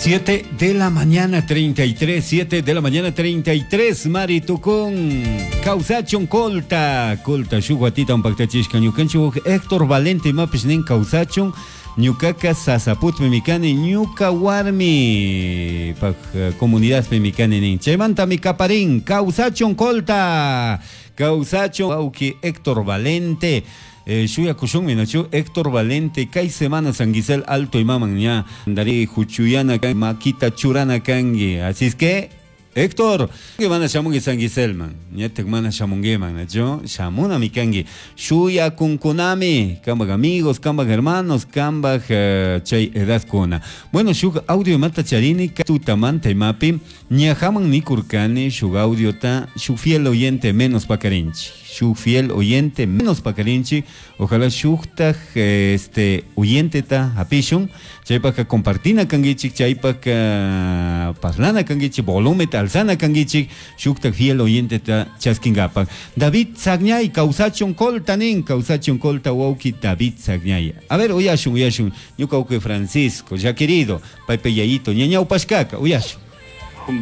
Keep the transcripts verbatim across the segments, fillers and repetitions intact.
Siete de la mañana treinta y tres, siete de la mañana treinta y tres, Mari Tucún, Causachun Colta, Colta, shuk watita paktachishka, ñukanchik Héctor Valente imapish nin kawsachun, ñukaka Sasaputmi kani, ñuka warmi pak comunidadpimi kani nin. Chaymantami kaparin, kawsachun Colta, kawsachun wawki Héctor Valente. Eh, shuyakushunmi, nachu Héctor Valente kay semana San Gisel Alto imaman ña dari huchuyana makita churana kanki. Así es que Héctor, que mana shamunki San Giselman, ñatak mana shamunkiman, nachu shamunami kanki. Shuyakunkunami, kambak amigos, kambak hermanos, kambak uh, chay edadkuna. Bueno, shuk audio mata charini tutamanta imapi, ñajaman nikurkani shuk audiota, shuk fiel oyente menos pakarinchi. Shuk fiel oyente menos pakarinchi, ojalá shuktaj este oyenteta hapishun, chaypaka compartina kankichik, chaypaka parlana kankichik, volumeta alzana kankichik, shuktaj fiel oyenteta chaskingapak. David Sagñay, kawsachun Colta nin, kawsachun Colta wawki David Sagñay. A ver, uyashun, uyashun, ñuka wawki Francisco, ya querido, paypa yayito, ña ñawpashkaka, uyashun.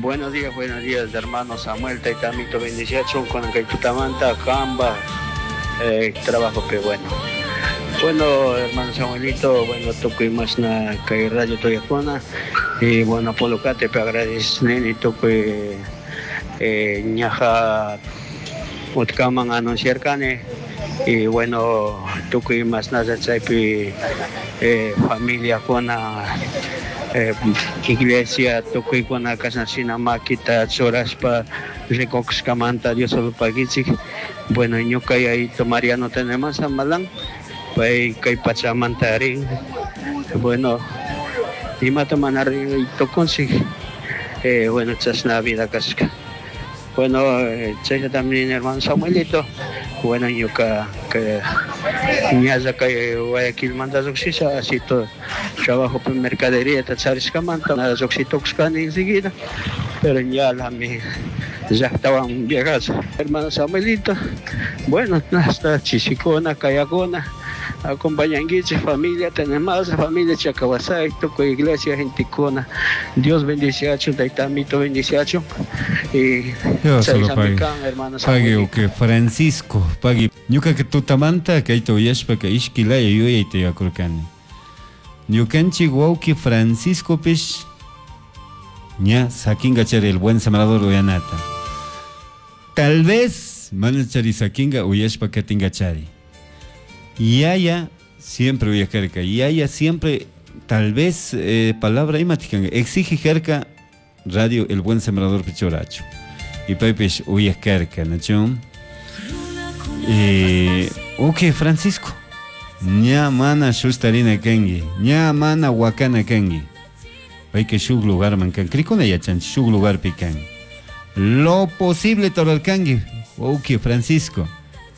Buenos días, buenos días, hermano Samuel, taitamito bendiciachun con kay tutamanta, kamba, eh, trabajo pe bueno. Bueno, hermano Samuelito, bueno, tukuy mashna kay radio tuyakuna, y bueno, Polocate pe agradecen tukuy eh, ñaja utkaman anunciar kani, y bueno, tukuy mashna chaypi eh, familia kuna eh, iglesia tukuykuna kashna makita churashpa rikushkamanta Dios pagichik. Bueno, ñuka yayito Mariano tenemos Malan pay kay pachamanta rin. Bueno, imata mana rin tukunchik eh, bueno, chashna vida kashka. Bueno, eh, chayta también hermano Samuelito. Bueno, ñuka que ñalla kay Guayaquilmanta lluqshisha así todo trabajo en mercadería charishkamanta nada lluqshitukushkani enseguida, pero ya la mi llaqtawan viajas hermano Samuelito. Bueno, hasta chishikuna kayakuna acompañankichik familia tenemos familia Chacawasay, tukuy iglesia gentekuna. Dios bendiciachun, taytamito bendiciachun y solo hermano. Pagui que Francisco, pagui. Ñuka tutamanta kayta uyashpaka ishki laya yuyayta yakurkani. Ñukanchik wawki Franciscopish ña sakinga chari El Buen Sembrador uyanata. Tal vez mana chari sakinga uyashpa katinga chari. Yaya siempre uyakarka. Yaya siempre tal vez eh, palabra imatikan exige karka radio El Buen Sembrador pichurachu. Y paypish uyakarka, ¿no? Eh, ok, Francisco. Ña mana shustarina kanki. Ña mana wakana kanki. Payka shuk lugarman kan. Krikuna yachanchik shuk lugarpi kan. Lo posible rurarkanki. Ok, Francisco.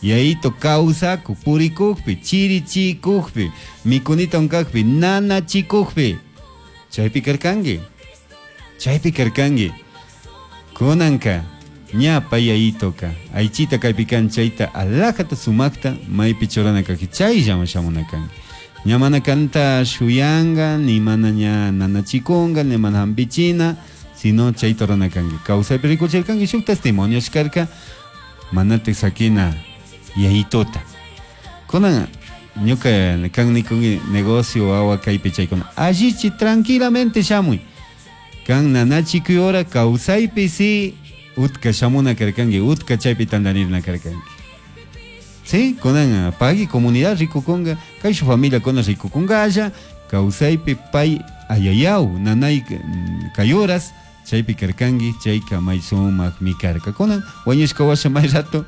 Yayito kawsaku, purikukpi, chirichikukpi, mikunita unkakpi, nanachikukpi. Chaypi karkanki. Chaypi karkanki. Kunanka, ña pay yayitoka, aychita kaypi kan chayta alajata sumakta maypi churana kaki chayllaman shamuna kanki. Ña mana kanta shuyanga, ni mana ña nanachikunga, ni mana hampichina, sino chayta rurana kanki. Kawsaypi rikuchirkanki shuk testimonio karka, manatik sakina yayitota. Kunan ñuka kan nikunki negocio wawa kaypi chaykuna. Allichi tranquilamente shamuy. Kan nanachikuy hora kawsaypi si utka shamuna karkanki, utka chaypi tantanirna karkanki. Sí, kunan pagui comunidad rikukunga, kay su familia kuna rikukunga kawsaypi pay ayayaw nanay kay horas chaypi karkanki, chayka may sumakmi karka. Kunan wañushka washa may rato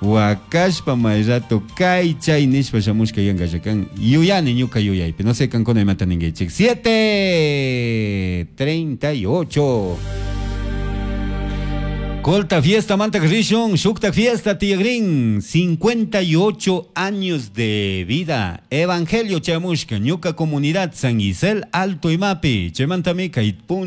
wakashpa may rato kay chay nishpa shamushka yanka kan yuyani ñuka yuyaypi. No sé kankuna imata ninkichik. siete treinta y ocho. Colta fiesta manta rishun, shukta fiesta tiyagrin, cincuenta y ocho años de vida. Evangelio chamushka, ñuka comunidad San Gisel Alto Imapi, chaymantami kay